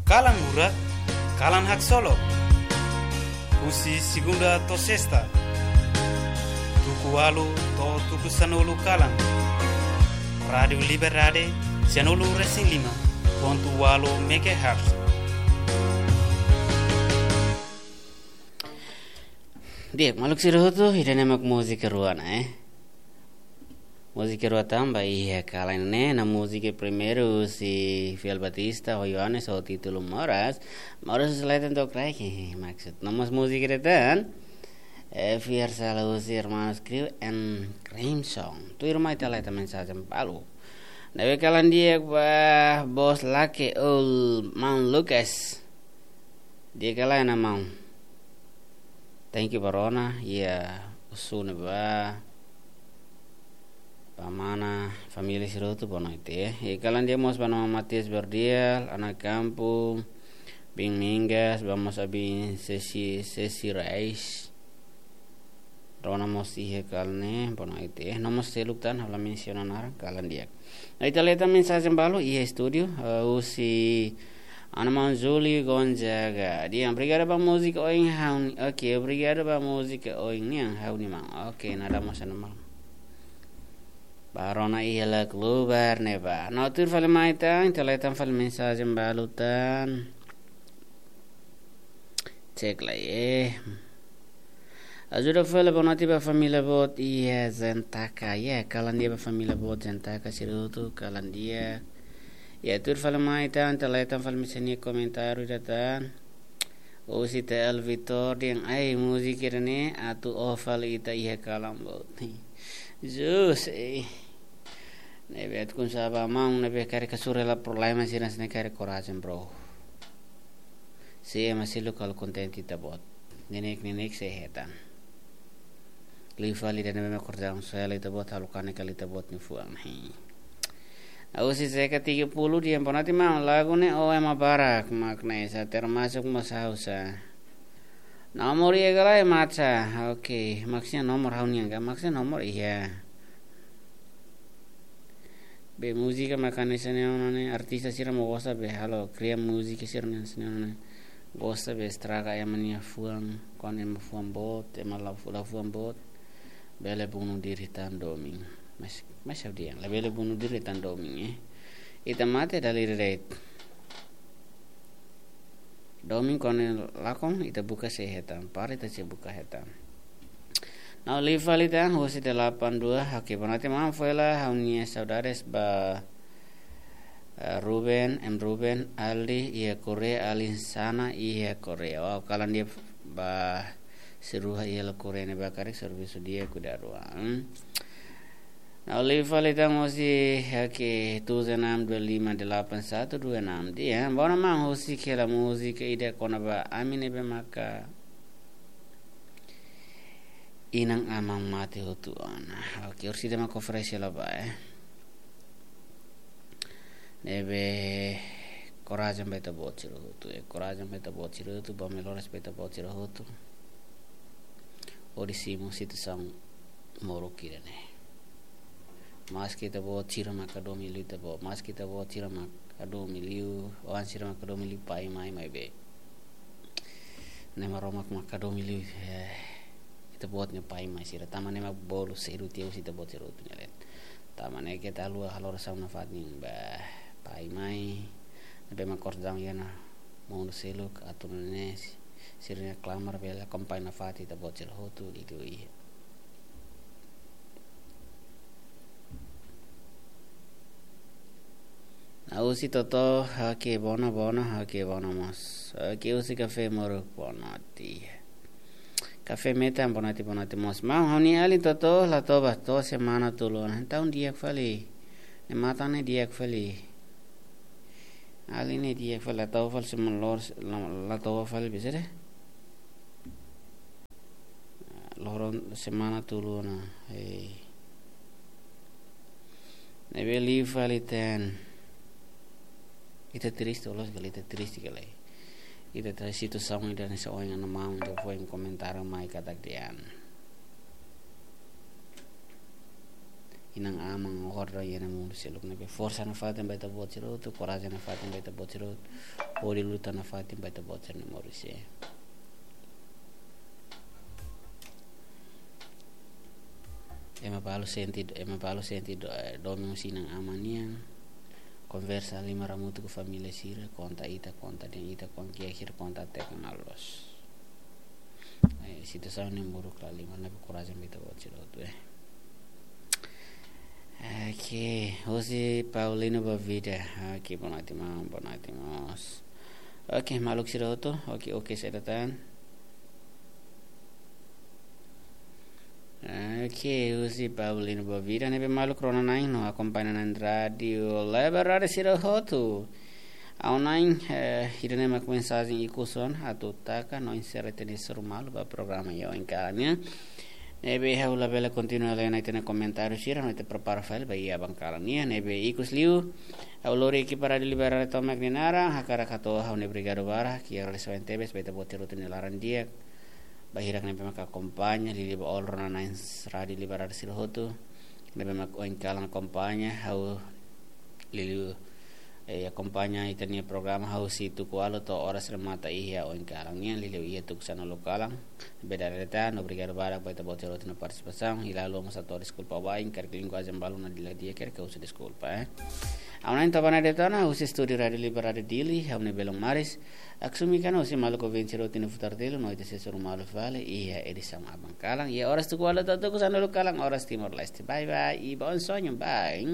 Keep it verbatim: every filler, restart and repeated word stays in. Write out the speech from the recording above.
Kalan Murak, kalan haksolok. Husi segunda to'o sesta, tuku ualu to'o tuku sanulu kalan. Rádiu Liberdade, sianulu resin lima pontu ualu megahertz. Di'ak, maluk sira hotu, ida-ne'e mak múzika rua ona, eh. Múzika rua tan ba iha kalan ne'e, no múzika primeiru husi Fiel Batista ho Yohanes ho títulu Moras. Moras husi leten to'o kraik, maksud. No mós múzika ida tan, eh, Fiar Sala husi Hermanos Crew and Crimson. Tuirmai ita hetan mensajen balu. Ne'ebé kalan di'ak ba bos Lake Ul Maun Lucas. Di'ak ka lae, maun? Thank you ba rona, iha Osu ne'ebá. Ba mana, família sira hotu, boa noite, eh. I kalan di'ak mós ba maun Matias Berdial, Ana Kampu, Bing Mingas, ba mós abin Sesi, Sesi Reis. Rona mós iha kalan ne'e, boa noite, eh. No mós seluk tan, ha'u la mensiona naran, kalan di'ak. Ita hetan mensajen balu iha estúdiu, eh, husi Ana Maun Juli Gonzaga. Dehan, obrigadu ba múzika oin ha'u-nian. Oke, obrigadu ba múzika oin nian ha'u-nian, maun. Oke, nada mós, Ana Maun. Ba rona iha Lak Lubar ne'ebá. No tuir fali mai tan, ita hetan fali mensajen balu tan. Cek lai, eh. Ajuda fali, boa noite ba família boot iha Zentaka. Ya, kalan di'ak ba família boot Zentaka sira hotu, kalan di'ak. Ya, tuir fali mai tan, ita hetan fali mai sira-nia komentáriu ida tan. Husi T L Vitor dehan, ai, múzika ida-ne'e atu oho fali ita iha kalan boot. Jus, eh. Ne'ebé atu kun saba maun, ne'ebé karik hasoru hela problema sira-ne'e, karik korajen, bro. Se ema seluk halo kontente ita-boot. Neineik-neineik sei hetan. Liu fali ida-ne'ebé mak korajen, se hela ita-boot, halo kanek hela ita-boot nia fuan. Hi. Husi Zeka tiga puluh dehan, boa noite maun, lagu ne'e ho ema barak mak ne'e, sa termasuk mós ha'u sa. Nomor iha ka lae, Matsa? Oke, maksudnya nomor ha'u-nian ka? Maksudnya nomor iha. Be múzika mak hanesan ne'e ona ne'e, artista sira mós gosta be halo, kria múzika sira hanesan ne'e ona ne'e. Gosta be estraga ema nia fuan, kuandu ema fuan boot, ema la, la fuan boot. Bele bunuh diri tan domin. Mas, mas ha'u dehan, labele bunuh diri tan domin, eh. Ita mate dala ida de'it. Domin kuandu lakon, ita buka sei hetan, para ita sei buka hetan. No liu fali tan, husi delapan dua, oke, boa noite maun, foin hela ha'u-nia saudades ba, eh, Ruben, M Ruben, Aldi, iha Korea, Alin Sana, iha Korea. Wow, kalan di'ak ba sira iha Korea ne'ebá karik servisu di'ak, kuidadu an. No liu fali tan husi, oke, tujuh enam dua lima delapan satu dua enam. Dehan, boa ona maun, husik hela múzika ida kona-ba ami ne'ebé maka inan-aman mate hotu ona. Oke, orsida mak oferese hela ba, eh. Ne'ebé korajen ba ita-boot sira hotu, eh, korajen ba ita-boot sira hotu, ba melhoras ba ita-boot sira hotu. Hodi simu situasaun moruk ida-ne'e. Maski ita-boot sira mak hadomi liu ita-boot, maski ita-boot sira mak hadomi liu, oan sira mak hadomi liu pai mai, maibé Na'i Maromak mak hadomi liu, eh, ita-boot nia pai mai sira. Tanba ne'e mak bolu sedu tiha husi ita-boot sira hotu nia leet. Tanba ne'e keta haluha halo orasaun nafatin ba pai mai. Ne'ebé mak korajen iha ona mundu seluk, atu nune'e si-, sira-nia klamar bele akompaña nafatin ita-boot sira hotu, di'ak liu iha. Husi Toto, oke, boa ona, boa ona, oke, boa ona mós. Oke, husi Kafé Moruk, boa noite. Kafé Metan, boa noite, boa noite mós. Maun, ha'u-nia alin Toto la toba, to'o semana tolu ona. Entaun di'ak fali. Ne'e matan ne'e di'ak fali. Alin ne'e di'ak fali, la toba fali semana lor-, la, la toba fali bisa de'it. Loron semana tolu ona, eh. Ne'ebé liu fali tan. Ita triste, loos ka lae, ita triste ka lae. Ita triste, situasaun ida-ne'e, se oin ana maun atu foin komentáriu mai katak dehan. inan-aman, oho, iha mundu seluk ne'ebé. Forsa nafatin ba ita-boot sira hotu, korajen nafatin ba ita-boot sira hotu, hodi luta nafatin ba ita-boot sira-nia moris. Ema balu sente, ema balu sente do-, eh, domin husi inan-aman nian. Konversa liman hamutuk ho família sira, konta ita, konta dehan ita, konta kiak sira, konta até kona loos. Eh, situasaun ne'e buruk la liman, ne'ebé korajen ba ita-boot sira hotu, eh. Oke, husi Paulino Bavida. Oke, boa noite, maun, boa noite, mós. Oke, maluk sira hotu. Oke, oke, saida tan. Oke, husi Paulino Bavida, ne'ebé maluk rona-na'in no akompaña na'in Rádiu Liberdade sira hotu. Ha'u-nia, eh, ida-ne'e mak mensajen ikus ona atu taka no enserra ita-nia hasoru malu ba programa iha oin kalan nian. Ne'ebé ha'u labele kontinua lee ona ita-nia komentáriu sira no ita prepara fali ba iha aban kalan nian. Ne'ebé ikus liu, ha'u lori ekipa Rádiu Liberdade tomak nia naran, hakarak hato'o ha'u-nia obrigadu barak, ha'u agradese tebes ba ita-boot sira hotu nia laran di'ak. Ba hirak ne'ebé maka akompaña, liuliu ba all rona-na'in Rádiu Liberdade sira hotu ne'ebé mak oin kalan akompaña, ha'u liuliu, eh, akompaña ita-nia programa husi tuku ualu to'o oras remata iha oin kalan nian, liuliu iha tuku sanulu kalan. Beda reta, no obrigadu barak ba ita-boot sira hotu nia partisipasaun. Ha'u halo mós hato'o deskulpa ba inkarek linguajen balu ne'e la di'ak, hakarak husu deskulpa, eh. Ha'u-nia entaun Bana Detona, husi estúdiu Rádiu Liberdade Dili, ha'u-nia belun Maris. Aksumi kana husi maluk ouvinte sira hotu nia futar telu, no ita sei hasoru malu fali iha edisaun aban kalan. Iha oras tuku ualu to'o tuku sanulu kalan, oras Timor-Leste. Bye bye, e bom sonho, bye.